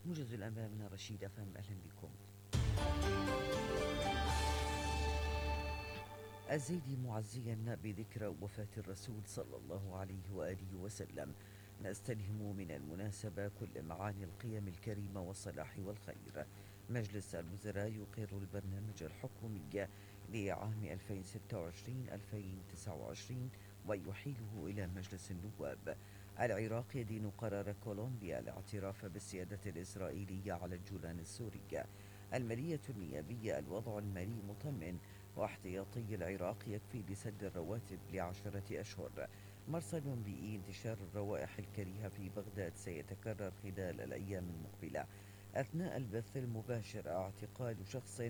موجز الأنباء من رشيد أفهم. أهلا بكم. الزيدي معزيا بذكرى وفاة الرسول صلى الله عليه وآله وسلم: نستلهم من المناسبة كل معاني القيم الكريمة والصلاح والخير. مجلس الوزراء يقر البرنامج الحكومي لعام 2026-2029 ويحيله إلى مجلس النواب. العراق يدين قرار كولومبيا الاعتراف بالسيادة الإسرائيلية على الجولان السوري. المالية النيابية: الوضع المالي مطمئن واحتياطي العراق يكفي لسد الرواتب ل10 أشهر. مرصد بيئي: انتشار الروائح الكريهة في بغداد سيتكرر خلال الأيام المقبلة. أثناء البث المباشر: اعتقال شخص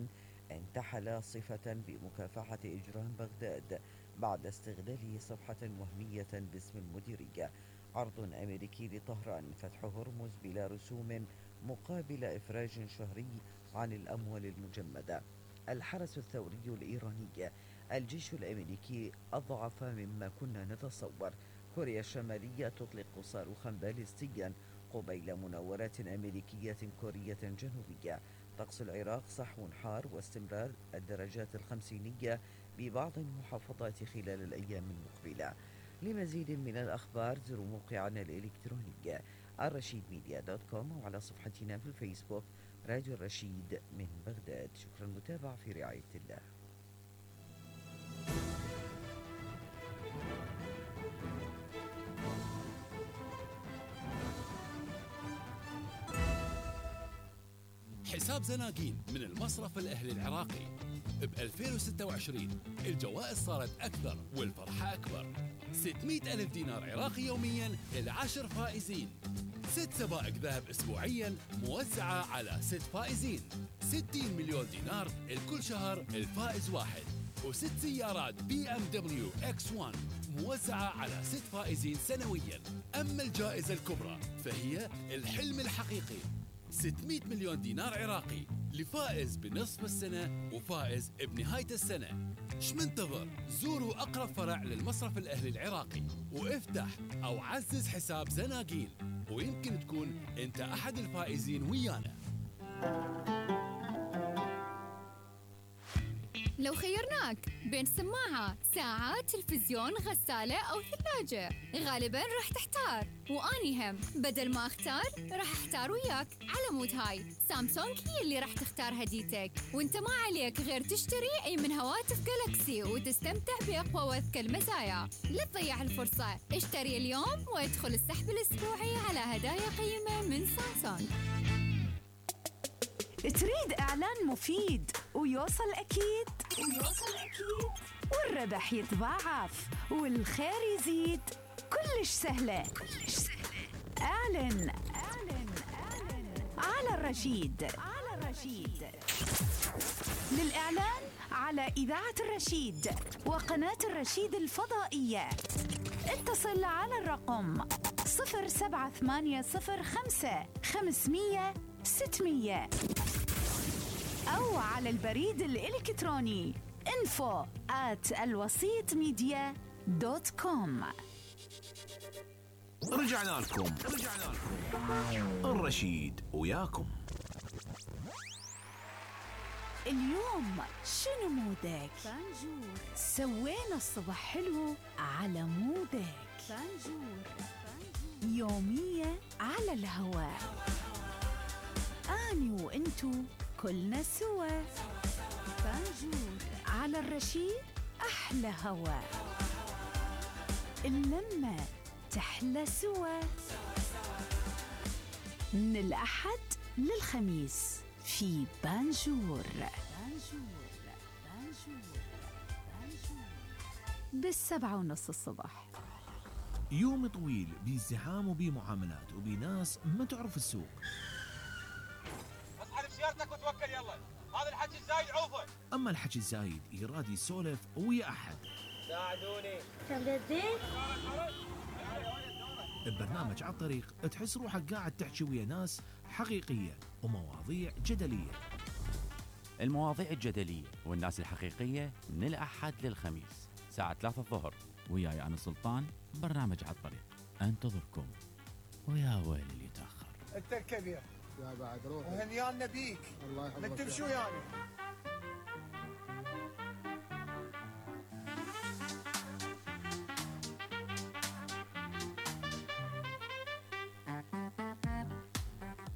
انتحل صفة بمكافحة إجرام بغداد بعد استغلاله صفحة وهمية باسم المديرية. عرض أمريكي لطهران: فتح هرمز بلا رسوم مقابل إفراج شهري عن الأموال المجمدة. الحرس الثوري الإيراني: الجيش الأمريكي أضعف مما كنا نتصور. كوريا الشمالية تطلق صاروخا باليستيا قبيل مناورات أمريكية كورية جنوبية. طقس العراق: صحو حار واستمرار الدرجات الخمسينية ببعض المحافظات خلال الأيام المقبلة. لمزيد من الأخبار زوروا موقعنا الإلكتروني الرشيدميديا.com وعلى صفحتنا في الفيسبوك راديو الرشيد من بغداد. شكرا المتابعة، في رعاية الله. حساب زناقين من المصرف الأهلي العراقي. ب 2026 الجوائز صارت أكثر والفرحة أكبر. 600 ألف دينار عراقي يوميا ل10 فائزين. 6 سبائك ذهب أسبوعيا موزعة على 6 فائزين. 60 مليون دينار الكل شهر الفائز واحد. و6 سيارات BMW X1 موزعة على 6 فائزين سنويا. أما الجائزة الكبرى فهي الحلم الحقيقي: 600 مليون دينار عراقي لفائز بنصف السنة وفائز بنهاية السنة. شمنتظر؟ زوروا أقرب فرع للمصرف الأهلي العراقي وافتح أو عزز حساب زناقين، ويمكن تكون أنت أحد الفائزين ويانا. لو خيرناك بين سماعة، ساعة، تلفزيون، غسالة أو ثلاجة، غالباً راح تحتار، وأني هم بدل ما أختار راح أحتار وياك. على مود هاي سامسونج هي اللي راح تختار هديتك، وانت ما عليك غير تشتري أي من هواتف جالكسي وتستمتع بأقوى وأذكى المزايا. لا تضيع الفرصة، اشتري اليوم وادخل السحب الأسبوعي على هدايا قيمة من سامسونج. تريد إعلان مفيد ويوصل أكيد والربح يتضاعف والخير يزيد؟ كلش سهلة. اعلن على الرشيد. للإعلان على إذاعة الرشيد وقناة الرشيد الفضائية اتصل على الرقم 07805 500 600 أو على البريد الإلكتروني info@alwasitmedia.com. رجعنا لكم الرشيد وياكم. اليوم شنو مودك؟ بانجور. سوينا الصبح حلو على مودك. بانجور. يومية على الهواء، أني وإنتو كلنا سوا. بانجور على الرشيد، أحلى هوا، اللمة تحلى سوا. من الأحد للخميس في بانجور. ب7:30 الصبح. يوم طويل بازدحام وبمعاملات وبناس ما تعرف السوق. اسحب سيارتك وتوكل يلا، هذا الحكي الزايد عوفه. اما الحكي الزايد يراد يسولف ويا احد. ساعدوني. ببرنامج على الطريق تحس روحك قاعد تحكي ويا ناس حقيقية ومواضيع جدلية. المواضيع الجدلية والناس الحقيقية من الأحد للخميس ساعة 3 الظهر، وياي أنا سلطان. برنامج على الطريق انتظركم، ويا ويل اللي يتأخر. انت الكبير يا بعد روح. وهنيانا بيك. الله يحفظك. ما تمشوا يعني.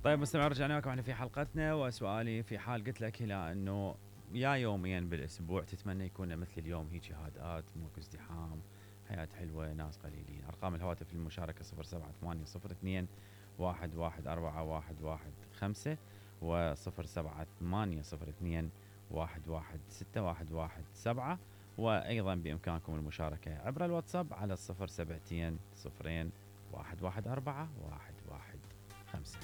طيب مستمعين، رجعنا لكم احنا في حلقتنا، وسؤالي في حال قلت لك هلا انه يا يوميا بالاسبوع تتمنى يكون مثل اليوم هيك هادئات، ماكو ازدحام، حياة حلوة، ناس قليلين. ارقام الهواتف للمشاركة 07802 1141115 و 07802 1161117، وايضا بامكانكم المشاركة عبر الواتساب على 072 0114 115.